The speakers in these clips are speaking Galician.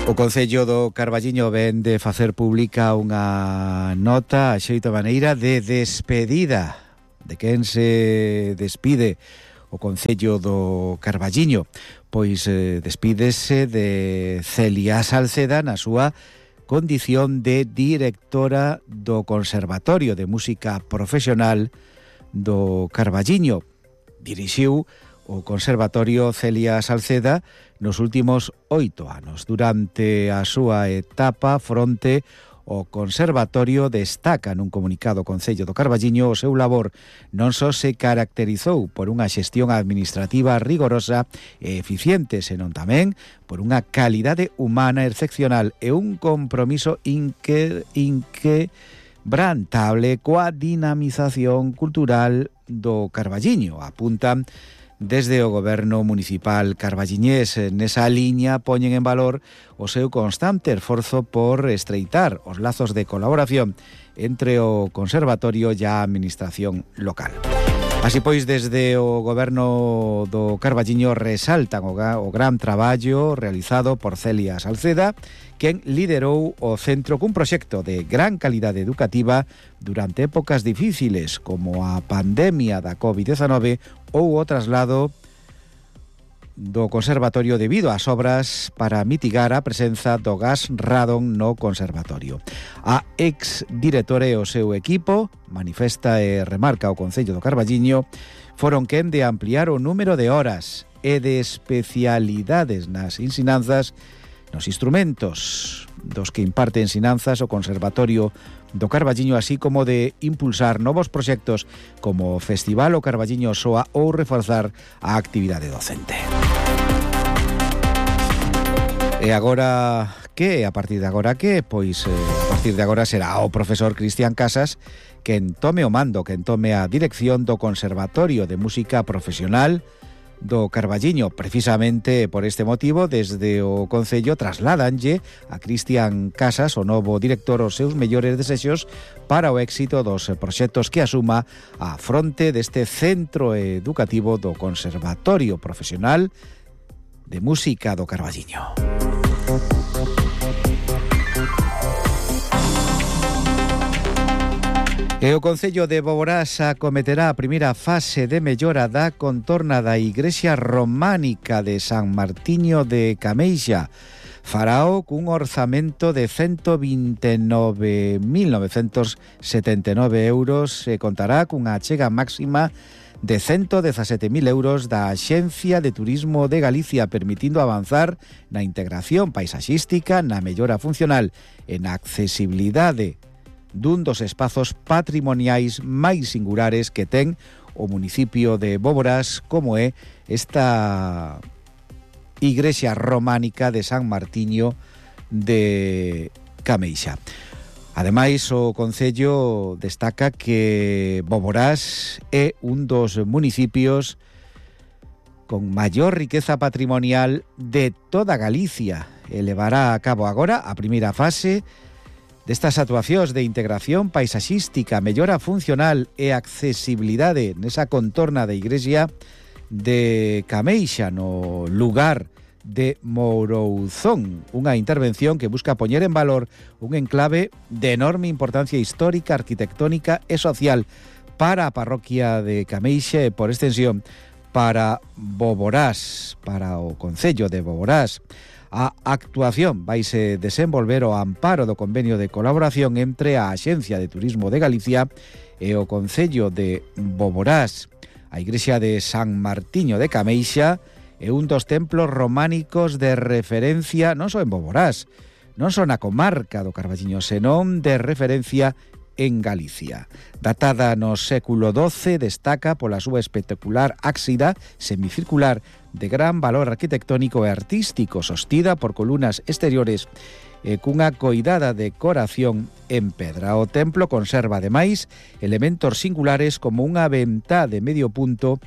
O Concello do Carballiño ven de facer pública unha nota a xeito maneira de despedida de quen se despide o Concello do Carballiño. Pois despídese de Celia Salceda na súa condición de directora do Conservatorio de Música Profesional do Carballiño. Dirixiu o Conservatorio Celia Salceda nos últimos 8 anos. Durante a súa etapa fronte o Conservatorio destaca nun comunicado o Concello do Carballiño o seu labor non só se caracterizou por unha xestión administrativa rigorosa e eficiente, senón tamén por unha calidade humana excepcional e un compromiso inquebrantable coa dinamización cultural do Carballiño. Apuntan desde o goberno municipal carballiñés. Nesa liña poñen en valor o seu constante esforzo por estreitar os lazos de colaboración entre o conservatorio e a administración local. Así pois, desde o goberno do Carballiño resaltan o gran traballo realizado por Celia Salceda, quen liderou o centro cun proxecto de gran calidade educativa durante épocas difíciles como a pandemia da COVID-19 ou o traslado do conservatorio debido ás obras para mitigar a presenza do gas radon no conservatorio. A ex-directora e o seu equipo, manifesta e remarca o Concello do Carballiño, foron quen de ampliar o número de horas e de especialidades nas ensinanzas, nos instrumentos dos que imparte ensinanzas o Conservatorio do Carballiño, así como de impulsar novos proxectos como o Festival o Carballiño Soa ou reforzar a actividade docente. E agora que? A partir de agora que? Pois a partir de agora será o profesor Cristian Casas quen tome o mando, quen tome a dirección do Conservatorio de Música Profesional do Carballiño. Precisamente por este motivo, desde o Concello trasládanlle a Cristian Casas, o novo director, os seus mellores desexos para o éxito dos proxectos que asuma a fronte deste centro educativo do Conservatorio Profesional de Música do Carballiño. E o Concello de Boborás acometerá a primeira fase de mellora da contorna da igrexa románica de San Martiño de Cameixa. Farao cun orzamento de 129.979 euros e contará cunha achega máxima de 117.000 euros da Axencia de Turismo de Galicia, permitindo avanzar na integración paisaxística, na mellora funcional e na accesibilidade dun dos espazos patrimoniais máis singulares que ten o municipio de Boborás, como é esta igrexa románica de San Martiño de Cameixa. Ademais, o Concello destaca que Boborás é un dos municipios con maior riqueza patrimonial de toda Galicia e levará a cabo agora a primeira fase destas actuacións de integración paisaxística, mellora funcional e accesibilidade nesa contorna da igrexa de Cameixa, no lugar de Mourouzón, unha intervención que busca poñer en valor un enclave de enorme importancia histórica, arquitectónica e social para a parroquia de Cameixa e, por extensión, para Boborás, para o Concello de Boborás. A actuación vaise desenvolver ao amparo do convenio de colaboración entre a Axencia de Turismo de Galicia e o Concello de Boborás. A igrexa de San Martiño de Cameixa é un dos templos románicos de referencia non só en Boborás, non só na comarca do Carballiño, senón de referencia en Galicia. Datada no século XII, destaca pola súa espectacular ábsida semicircular de gran valor arquitectónico e artístico, sostida por columnas exteriores e cunha coidada decoración en pedra. O templo conserva, ademais, elementos singulares como unha ventá de medio punto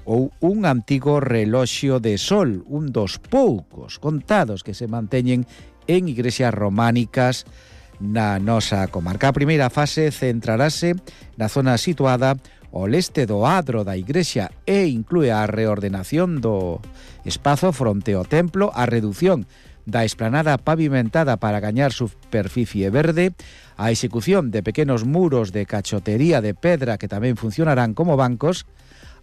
ou un antigo reloxo de sol, un dos poucos contados que se manteñen en igrexas románicas na nosa comarca. A primeira fase centrarase na zona situada ao leste do adro da igrexa e inclúe a reordenación do espazo fronte ao templo, a reducción da esplanada pavimentada para gañar superficie verde, a execución de pequenos muros de cachotería de pedra que tamén funcionarán como bancos,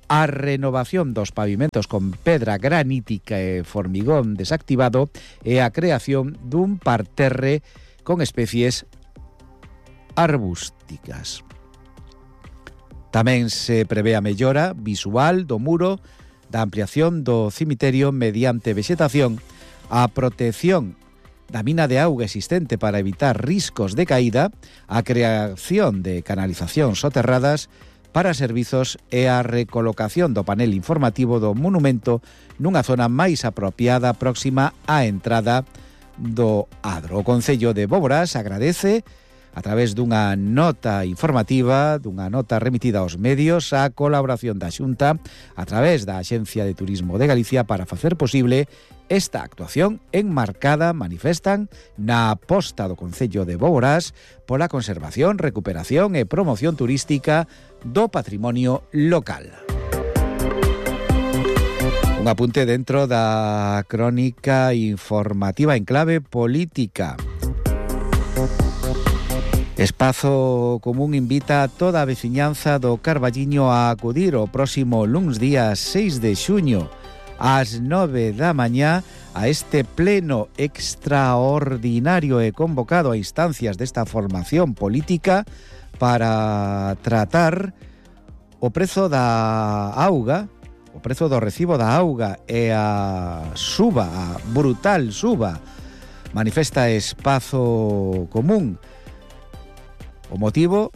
a renovación dos pavimentos con pedra granítica e formigón desactivado e a creación dun parterre con especies arbústicas. Tamén se prevé a mellora visual do muro, da ampliación do cemiterio mediante vexetación, a protección da mina de auga existente para evitar riscos de caída, a creación de canalizacións soterradas para servizos e a recolocación do panel informativo do monumento nunha zona máis apropiada próxima á entrada do Adro. O Concello de Boborás agradece, a través dunha nota informativa, dunha nota remitida aos medios, a colaboración da Xunta a través da Axencia de Turismo de Galicia para facer posible esta actuación enmarcada, manifestan, na aposta do Concello de Boborás pola conservación, recuperación e promoción turística do patrimonio local. Un apunte dentro da crónica informativa en clave política. Espazo Común invita a toda a veciñanza do Carballiño a acudir o próximo luns día 6 de xuño ás 9 da mañá a este pleno extraordinario e convocado a instancias desta formación política para tratar o prezo da auga, o prezo do recibo da auga e a brutal suba, manifesta Espazo Común. O motivo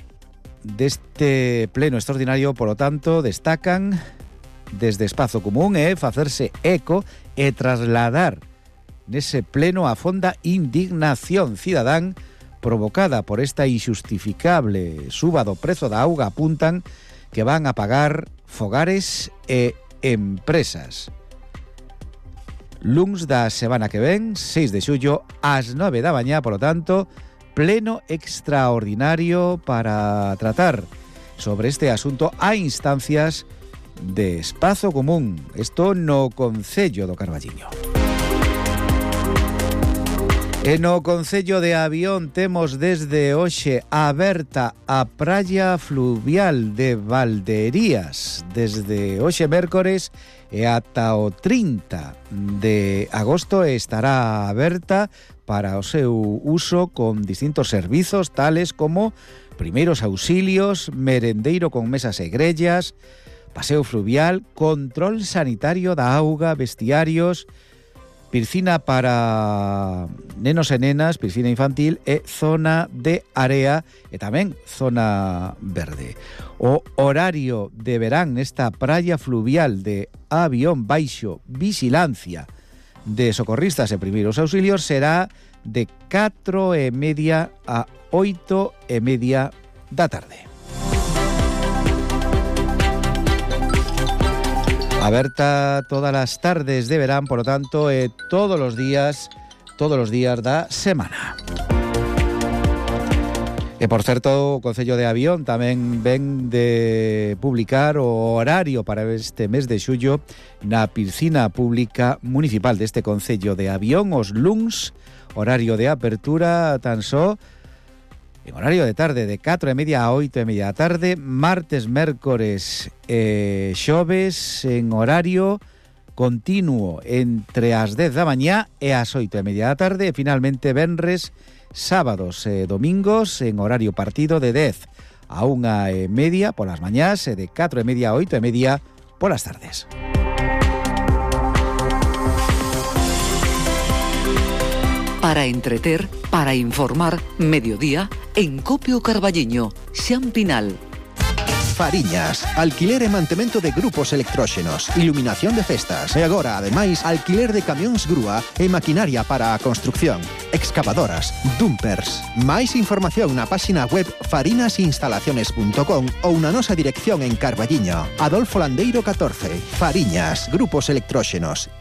deste pleno extraordinario, polo tanto, destacan desde Espazo Común é facerse eco e trasladar nese pleno a fonda indignación cidadán provocada por esta injustificable suba do prezo da auga. Apuntan que van a pagar fogares e empresas. Luns da semana que ven, 6 de xullo, ás 9 da mañá, polo tanto, pleno extraordinario para tratar sobre este asunto a instancias de Espazo Común. Isto no Concello do Carballiño. E no Concello de Avión temos desde hoxe aberta a praia fluvial de Valderías. Desde hoxe mércores e ata o 30 de agosto estará aberta para o seu uso con distintos servizos tales como primeiros auxilios, merendeiro con mesas e grellas, paseo fluvial, control sanitario da auga, vestiarios, piscina para nenos e nenas, piscina infantil e zona de area e tamén zona verde. O horario de verán nesta praia fluvial de Avión baixo vigilancia de socorristas e primeiros auxilios será de 4:30 a 8:30 da tarde. Aberta todas as tardes de verán, por lo tanto, todos os días da semana. E, por certo, o Concello de Avión tamén ven de publicar o horario para este mes de xullo na piscina pública municipal deste Concello de Avión, os luns, horario de apertura tan só en horario de tarde de 4:30 a 8:30 da tarde, martes, mércores e xoves en horario continuo entre as 10 da mañá e as 8:30 da tarde e finalmente venres, sábados e domingos en horario partido de 10 a 1:30 polas mañás e de 4:30 a 8:30 polas tardes. Para entreter, para informar, mediodía, en Copio Carballiño, Xampinal. Fariñas, alquiler e mantemento de grupos electróxenos, iluminación de festas e agora, ademais, alquiler de camións grúa e maquinaria para a construcción, excavadoras, dumpers. Máis información na páxina web farinasinstalaciones.com ou na nosa dirección en Carballiño, Adolfo Landeiro 14, Fariñas, grupos electróxenos.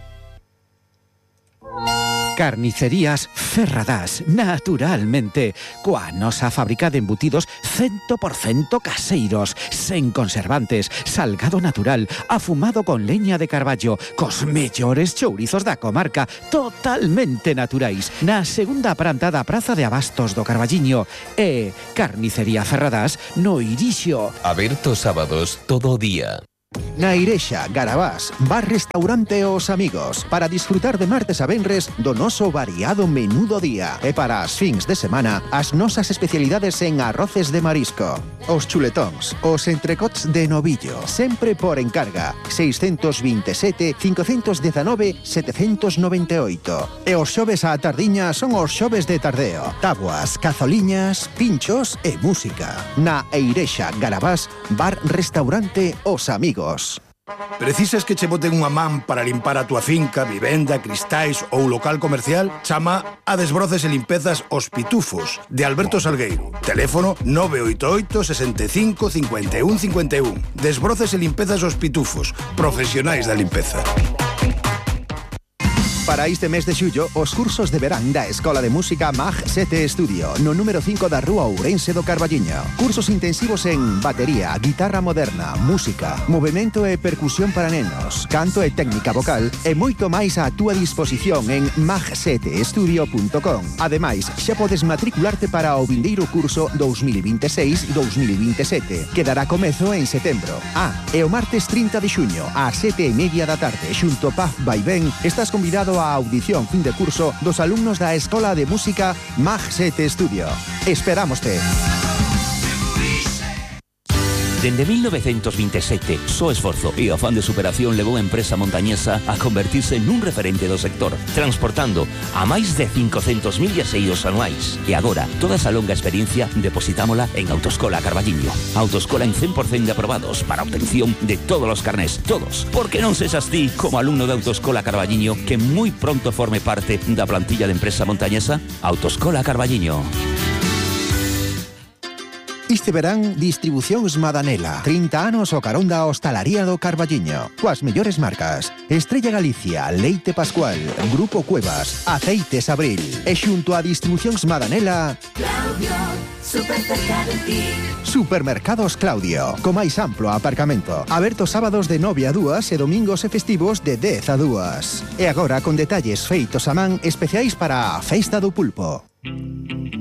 Carnicerías Ferradás, naturalmente, coa nosa fábrica de embutidos 100% caseiros, sen conservantes, salgado natural, afumado con leña de carballo, cos mellores chourizos da comarca, totalmente naturais, na segunda planta da Praza de Abastos do Carballiño. E Carnicería Ferradás no Irixo. Aberto sábados todo o día. Na Irexa, Garabás, bar restaurante Os Amigos, para disfrutar de martes a venres do noso variado menú do día. E para as fins de semana, as nosas especialidades en arroces de marisco, os chuletóns, os entrecots de novillo, sempre por encarga, 627 519 798. E os xoves á tardiña son os xoves de tardeo, tabuas, cazoliñas, pinchos e música. Na Irexa, Garabás, bar restaurante Os Amigos. Precisas que che boten unha man para limpar a túa finca, vivenda, cristais ou local comercial? Chama a Desbroces e Limpezas Os Pitufos, de Alberto Salgueiro. Teléfono 988 65 51 51. Desbroces e Limpezas Os Pitufos, profesionais da limpeza. Para este mes de xullo, os cursos de verán da Escola de Música Mag 7 Estudio, no número 5 da Rúa Ourense do Carballiño. Cursos intensivos en batería, guitarra moderna, música, movimento e percusión para nenos, canto e técnica vocal e moito máis á túa disposición en mag7estudio.com. Ademais, xa podes matricularte para o vindeiro curso 2026-2027, que dará comezo en setembro. E o martes 30 de xuño, ás 7:30 da tarde, xunto Paz Vaivén, estás convidado a audición fin de curso dos alumnos da Escola de Música Mag 7 Estudio. Esperámoste. Dende 1927, só esforzo e o afán de superación levou a empresa montañesa a convertirse nun referente do sector, transportando a máis de 500.000 viaxeiros anuais. E agora, toda esa longa experiencia depositámola en Autoescola Carballiño. Autoescola en 100% de aprobados para obtención de todos os carnés, todos. Porque non sexas ti, como alumno de Autoescola Carballiño, que moi pronto forme parte da plantilla de empresa montañesa. Autoescola Carballiño. Este verán, Distribucións Madanela. 30 anos o carón da hostalaría do Carballiño. Coas mellores marcas: Estrella Galicia, Leite Pascual, Grupo Cuevas, Aceites Abril. E xunto a Distribucións Madanela, Claudio, super cerca de ti. Supermercados Claudio, co máis amplo aparcamento. Aberto sábados de 9 a 2 e domingos e festivos de 10 a 2. E agora con detalles feitos a man especiais para a Festa do Pulpo.